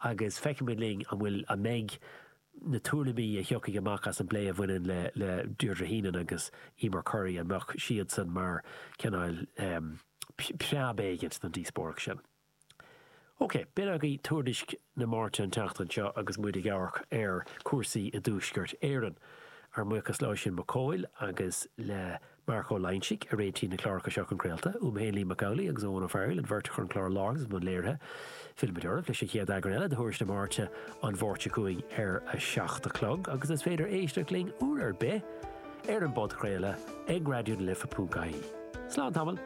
Agus feicfidh muid linn an bhfuil, an mbeidh na tuairimí a thiocfaidh amach as an bplé a bhaineann le le Deirdre Heenan agus Emer Currie, an mbeadh siadsan mar cineál preab éigint don díospóireacht sin. Ok, b'in agaibh Tuairisc na Máirte an tseachtain seo agus muid ag amharc ar cúrsaí i dTuaisceart Éireann. Ár mbuíochas le Oisín Mac Cóil agus le Marc Ó Loingsigh a réitigh na cláracha seo chun craolta, uaim féin Liam Mac Amhlaigh agus Eoin Ó Fearghaíl, an bheirt a chuir an clár i láthair agus i mbun léirithe. Fillfimid oraibh leis an chéad eagrán eile de Thuairisc na Máirte an Mháirt seo chugainn ar a 7 a chlog agus is féidir éisteacht linn uair ar bith ar an bpodchraoladh ag raidionalife.ie. Slán tamall!